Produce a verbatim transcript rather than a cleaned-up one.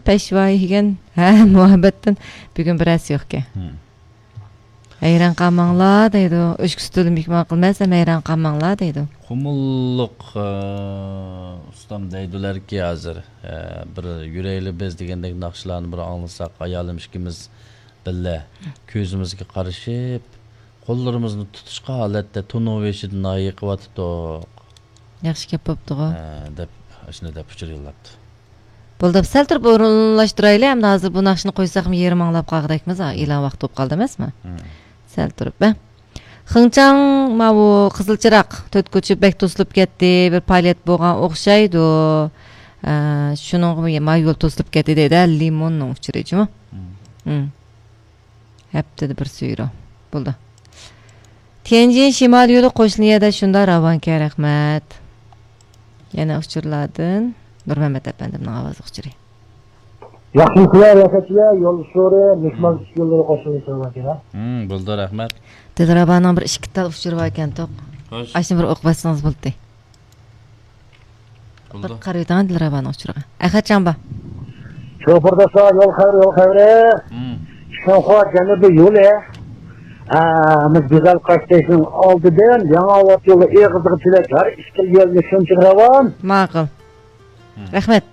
پەشۋايى يېگەن، ھە، مۇھەببەتتىن بۈگۈن بىرەرسى يوقكەن. ھەيران قالماڭلار دەيدۇ. ئۆچكە سۈتىدىن مېھمان قىلماس، ھەم ھەيران قالماڭلار دەيدۇ. قۇمۇللۇق، ئە، ئۇستام دەيدۇلەركى ھازىر، ئە، بىر يۈرەيلى بىز دېگەندەك ناخشىلارنى بىر ئاڭلىساق، ئايالىم ئىككىمىز بىللە كۆزىمىزگە قارىشىپ، قوللىرىمىزنى تۇتۇشقان ھالەتتە تونۇۋېلىشىدىن ناھىيە قىلىۋاتىدۇق. ياخشى گەپ بوپتىغۇ. ھە، دەپ، ئاشۇنداق دەپ ئۇچۇر يوللاپتۇ. بولدى، سەل تۇرۇپ ئورۇنلاشتۇرايلى، ئەمدى ھازىر بۇ ناخشىنى قويساقمۇ يېرىم ئاڭلاپ قالغۇدەكمىز، ھە، ئېلان ۋاقتى بولۇپ قالدى ئەمەسمۇ؟ مم. سەل تۇرۇپ، ھە. خېڭچاڭ، ماۋۇ قىزىل چىراغ، تۆت كوچا بەك توسۇلۇپ كەتتى، بىر پائالىيەت بولغان ئوخشايدۇ. ئە، شۇنىڭغىمۇ ما يول توسۇلۇپ كەتتى دەيدۇ، ھە، لىموننىڭ ئۇچۇرى جۇمۇ. مم. مم. ھەپتىدە بىر سۈيرو. بولدى. تيەنجىن شىمال يولى قوشنا يەردە شۇنداق راۋانكەن، رەھمەت. يەنە ئۇچۇرلاردىن نۇرمەمەت ئەپەندىمنىڭ ئاۋازلىق ئۇچۇرى. ياخشىمۇسىلەر، رەھمەتلەر، يول ئۇچۇرى، مېھمان يوللىرى قوشنا يەردە راۋانكەن. ھە، بولدى، رەھمەت. دىلرەبانىڭ بىر ئىككى تال ئۇچۇرى بار ئىكەن، توق. خوش. ئاشۇنى بىر ئوقۇپ بەرسىڭىز بولدى. بولدى. بىر قارىۋېتىڭ دىلرەبانىڭ ئۇچۇرىغا. ئەخەت جامبا. شوپۇرداشلار، يول خەۋىرى، يول خەۋىرى. مم. شىنخۇا جەنۇبىي يولى. ئە، بىز گۈزەل قاشتېشىنىڭ ئالدىدىن يېڭى ئاۋات يولى ئېغىزىغا تىلەك ھەر ئىككى يولنى شۇنچە راۋان. ماقۇل. مم. رەھمەت.